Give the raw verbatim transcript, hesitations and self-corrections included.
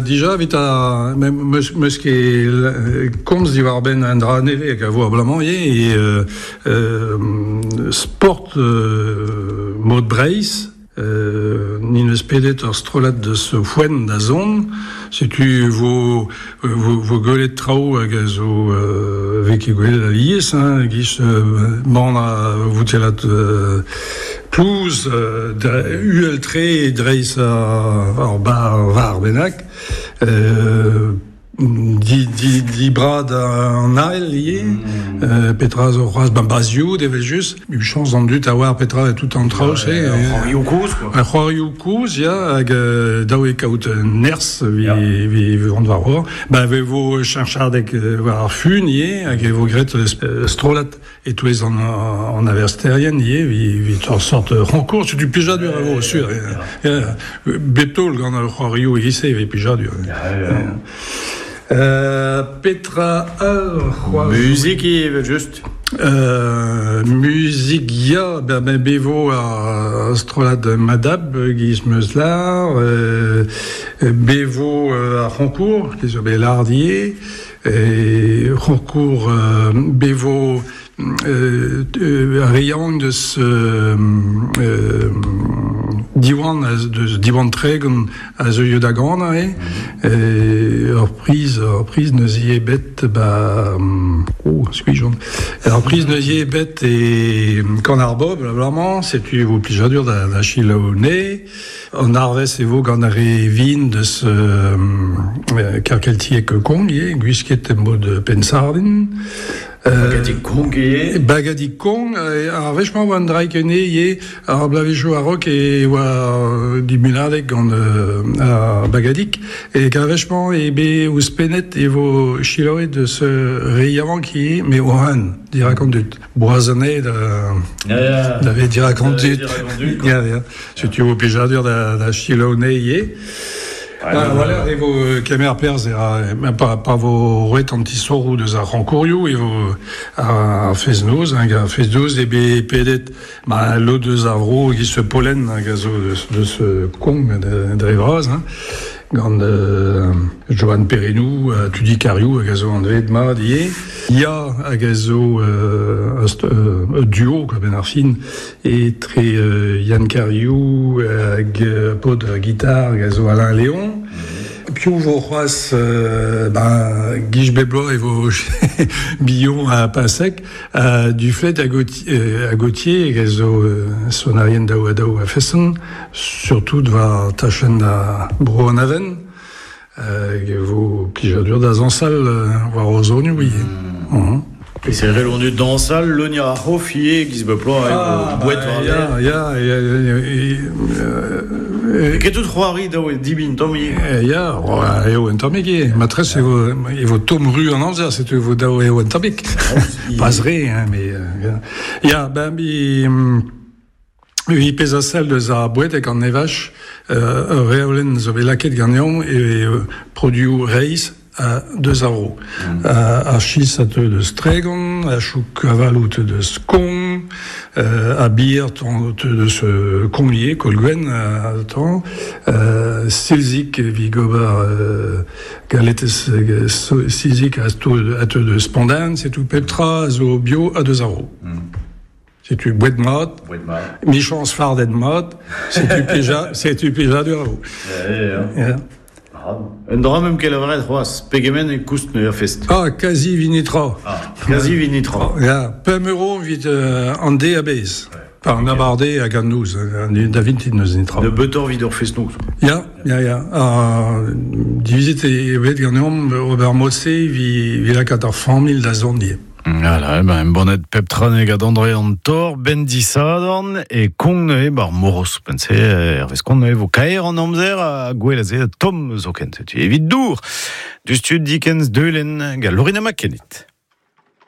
Dija evit a meus, meus ket komz diwar-benn an dra neve hag a vo abalamour ivez e euh, euh, sport euh, mod Breizh euh, nin eus pedet ur strollad deus foenn da zon setu vo vo, vo gwelet traoù hag a zo euh, vez ket gwelet alies hein, giz euh, man a voutellat euh, plouz euh, uhel-tre dreiz ar, ar bar var bennak euh, di, di, di brad an ael ivez, mm. euh, petra zo c'hoazh ban bazioù evel just, u chañs an dud a oar petra tout an traoù se. C'hoarioù kozh quoi. Ar c'hoarioù kozh, ya, hag euh, daou e kaout nerzh vi, yeah. vi, vi vont war hor. Ba ve vo cheñchadeg war ar fun ivez, hag e vo graet strollad e-touez an, an aversterien ivez, vi, vi ur sort renkour, setu plijadur a vo, sur. Ya, bep taol gant ar c'hoarioù e-giz-se, vi plijadur. Ya, ya. Euh, petra all c'hoazh Muzik evel just. Euh, muzik ya, ben, ben bevo ar strollad Madab, giz meus lar, euh, bevo euh, ar c'honkour, ki zo bet lardier, e c'honkour euh, bevo euh, euh, ar re yaouank deus euh, euh, Diwan, deus Diwan Tregon a zeuio da ganañ, e, e ur priz, ur priz neus ivez bet ba oh, skuizh Ur priz neus ivez bet e kan ar bobl, abalamour, setu vo plijadur da, da selaou ne. An arvez e vo gant ar re vin deus euh, kerkeltiek kong, ivez, gwisket en mod pensardin. Bagadig Kong ivez. Bagadig Kong, ar wech-mañ oa an draig enne ivez, ar blavezhioù a-raok e oa dimunadeg gant euh, ar bagadig, e ar wech-mañ e bet ouzhpennet e vo selaouet deus re yaouank ivez, mais o han, dirak an dud. Boazane da, Ya, ya. da vet dirak an dud. Dirak an dud, quoi. Ya, ya. Setu vo plijadur da, da selaou ne ivez. Ah, voilà, e vo kemer perzh e ra, pa, pa vo roet an tisoroù deus ar c'honkourioù, e vo ar fest-noz, hag ar fest-noz e bet pedet ma lod deus ar vro giz pollen hag a zo deus, deus Kong dre vras, hein, gant euh, Johan Perrenou, uh, Tudi Kariou hag a zo anvet mat ivez. Ya hag a zo euh, un duo, quoi, ben ar fin, etre euh, Yann Kariou hag euh, paotr gitar hag a zo Alain Léon. Piv vo c'hoazh euh, ben, giz bep bloaz e vo Billon a Pasek euh, du fait a Gauthier, euh, a Gauthier hag a zo euh, sonarien daou ha daou a feson, surtout war tachenn da bro an aven, euh, hag e vo plijadur da zañsal euh, war o zonioù ivez. Mm. Mm. Et c'est vrai, on est dañsal, leuniañ ar c'hof ivez, giz bep bloaz, Ah, e vo boued war ya, ya, ya, ya, E ket tout c'hoari daou e dibin tamm ivez. Ya, eo un tammig ivez. Matres e vo, e vo tomm ru an amzer, setu e vo daou eo un tammig. Pas re, hein, mais... Euh, ya, ben, bi... Vi pezh a sell deus ar boued hag an evaj, euh, ur reolenn zo bet lakaet ganeomp e euh, produoù reizh a deus ar vro. Mm. Ar chis a teu deus Tregon, a chouk avaloù teu deus Kong, euh, a bier teu deus Kong ivez, Kolgwen a tañ, euh, silzik evit gober euh, galetez silzik a teu deus Pandan, setu pep tra a zo bio a deus ar vro. Mm. Setu boued mat, michañs fardet mat, setu plija, setu plijadur a vo. Ya, ya. Un dra meump ket lavaret c'hoazh, pegement e koust neuze ar fest. Ah, kazi evit netra. Ah, kazi evit netra. Ya, pemp euro evit euh, an deiz a-bezh. Par an abardaez hag an noz, da vintin neus netra. Nebeutoc'h evit ur fest-noz. Ya, ya, ya. Ha divizet eo bet ganeomp ober mod-se evit, evit lakaat ar familh da zont ivez. Voilà, ben, embannet pep tra gant André an Tor, ben disadorn, e Kong neuze bar moros, pense, hervez kont neuze vo kaer an amzer a gwell a ze tomm zoken, setu evit dour. Du stud Dickens Deulen, gant Lorina McKennitt.